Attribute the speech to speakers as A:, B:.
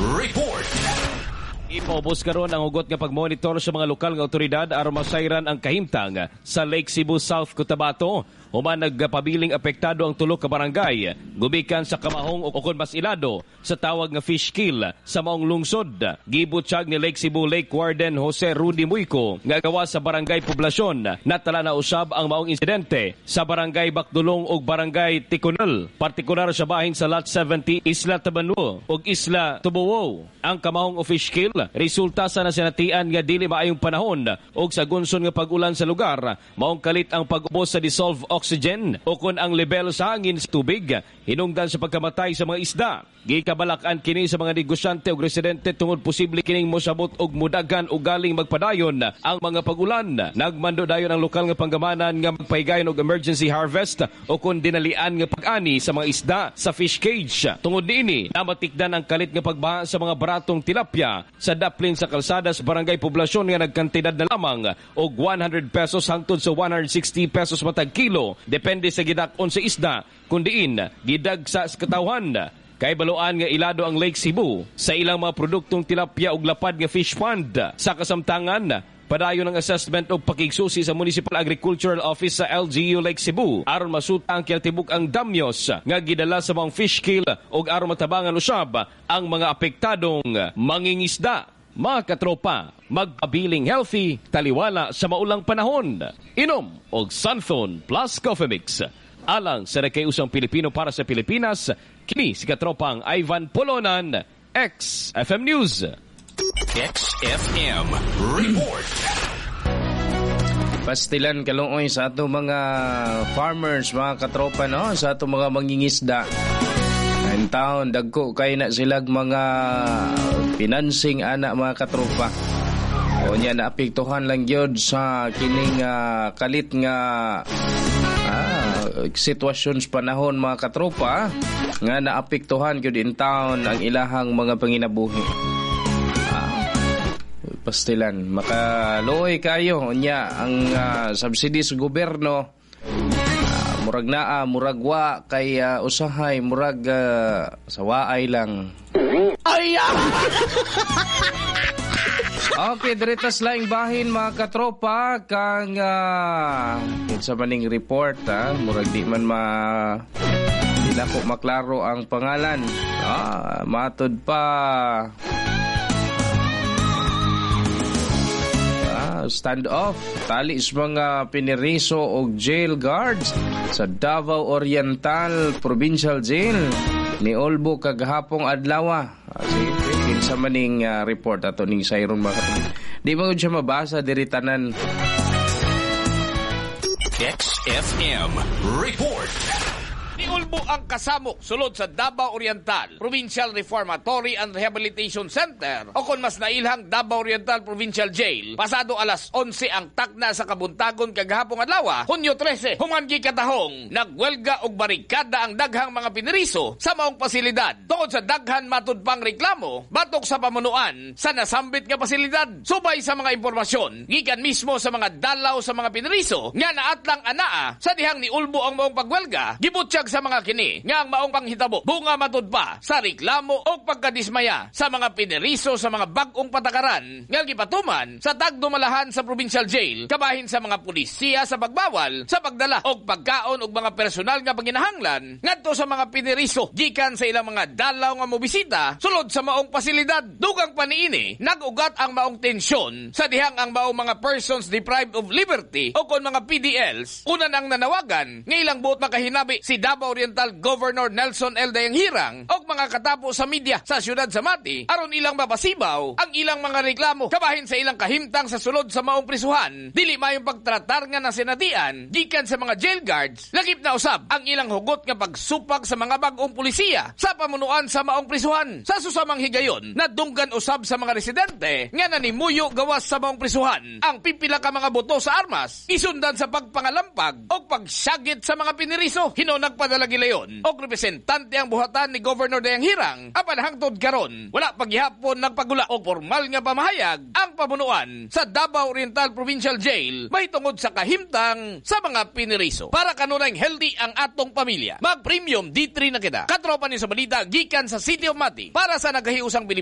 A: Report.
B: Ipaubos karon ang hugot nga pagmonitor sa mga lokal nga otoridad aron masayran ang kahimtang sa Lake Sebu, South Cotabato. Human nagpabiling apektado ang tulo ka barangay gumikan sa kamahong o kon mas ilado sa tawag nga fish kill sa maong lungsod. Gibutyag ni Lake Sebu Lake Warden Jose Rudy Muyco nga gawa sa Barangay Poblasyon natala na usab ang maong insidente sa Barangay Bakdulong ug Barangay Tikonel, partikular sa bahin sa Lot 70, Isla Tabanwo ug Isla Tubuwo. Ang kamahong o fish kill resulta sa nasinatian nga dili maayong panahon ug sa gunson nga pag-ulan sa lugar, maong kalit ang pag-ubos sa dissolved oxygen o kon ang level sa hangin sa tubig hinungdan sa pagkamatay sa mga isda. Gikabalak-an kini sa mga negosyante ug residente tungod posible kining mosabot og mudagan o galing magpadayon ang mga pag-ulan. Nagmando dayon ang lokal nga panggamanan nga magpahigayon og emergency harvest o kon dinalian nga pag-ani sa mga isda sa fish cage. Tungod niini, namatikdan ang kalit nga pagbaha sa mga baratong tilapia sa daplin sa kalsada sa Barangay Poblasyon nga nagkantidad na lamang og 100 pesos hangtod sa 160 pesos matag kilo, depende sa gidak-on sa isda, kundiin gidagsa sa katawhan. Kay baluan nga ilado ang Lake Sebu sa ilang mga produktong tilapia ug lapad nga fish pond. Sa kasamtangan, padayon ang assessment og pakigsusi sa Municipal Agricultural Office sa LGU Lake Sebu aron masuta ang kinatibuk ang damyos nga gidala sa mga fish kill ug aron matabangan usab ang mga apektadong mangingisda. Mga katropa, magpabiling healthy, taliwala sa maulang panahon. Inom og Santhone Plus Coffee Mix. Alang sa nagkaiusang Pilipino para sa Pilipinas, kini si katropang Ivan Polonan, XFM News.
A: XFM Report.
C: Pastilan kaluoy sa ato mga farmers, mga katropa, no? Sa ato mga mangingisda. In town, dagko kay na silag mga financing ana, mga katropa. O niya, naapektuhan lang gyud sa kining kalit nga sitwasyon sa panahon, mga katropa, nga naapektuhan gyud in town ang ilahang mga panginabuhi. Pastilan makaluoy kayo. Unya ang subsidy sa gobyerno, murag naa, murag wa, kay usahay murag sawaay lang.
D: Ay!
C: Okay, direta sa laing bahin, mga katropa, kang kinsa maning report ha, murag di man ma di na ko maklaro ang pangalan. Matod pa stand off tali sa mga piniriso og jail guards sa Davao Oriental Provincial Jail ni Olbo kagahapong adlaw. Sige, kinsa maning report ato ning sayron, mga katropa. Di man gud siya mabasa diri tanan.
A: XFM Report.
D: Niulbo ang kasamok sulod sa Davao Oriental Provincial Reformatory and Rehabilitation Center o kon mas nailhang Davao Oriental Provincial Jail pasado alas 11 ang takna sa kabuntagon kagahapong adlaw, Hunyo 13, human gikatahong nagwelga og barikada ang daghang mga piniriso sa maong pasilidad tungod sa daghan matud pang reklamo batok sa pamunuan sa nasambit nga pasilidad. Subay sa mga impormasyon gikan mismo sa mga dalaw sa mga piniriso nga naatlang anaa sa dihang niulbo ang maong pagwelga, gibutyag sa mga kini nga ang maong panghitabo bunga matud pa sa reklamo o pagkadismaya sa mga piniriso sa mga bag-ong patakaran nga gipatuman sa tagdumalahan sa provincial jail kabahin sa mga pulisiya sa pagbawal sa pagdala og pagkaon og mga personal nga panginahanglan ngadto sa mga piniriso gikan sa ilang mga dalaw nga mobisita sulod sa maong pasilidad. Dugang paniini, nag-ugat ang maong tensyon sa dihang ang maong mga persons deprived of liberty o kon mga PDLs una nang nanawagan nga ilang buot makahinabi si Davao Oriental Governor Nelson L. Dayanghirang og mga katapo sa media sa siyudad sa Mati aron ilang mapasibaw ang ilang mga reklamo kabahin sa ilang kahimtang sa sulod sa maong prisuhan, dili mayong pagtratar nga nasinatian gikan sa mga jail guards, lakip na usab ang ilang hugot nga pagsupak sa mga bag-ong pulisiya sa pamunuan sa maong prisuhan. Sa susamang higayon, nadunggan usab sa mga residente nga nanimuyo gawas sa maong prisuhan ang pipila ka mga buto sa armas isundan sa pagpangalampag o pagsagit sa mga piniriso. Hino nagpadala gilayon og representante ang buhatan ni Governor Dayanghirang, apan hangtod karon wala paghihapon nagpagula og formal nga pamahayag ang pamunuan sa Davao Oriental Provincial Jail mahitungod sa kahimtang sa mga piniriso. Para kanunay healthy ang atong pamilya, mag Premium D3 na kita. Katropa ni sa balita gikan sa City of Mati para sa nagkahiusang Pilipinas.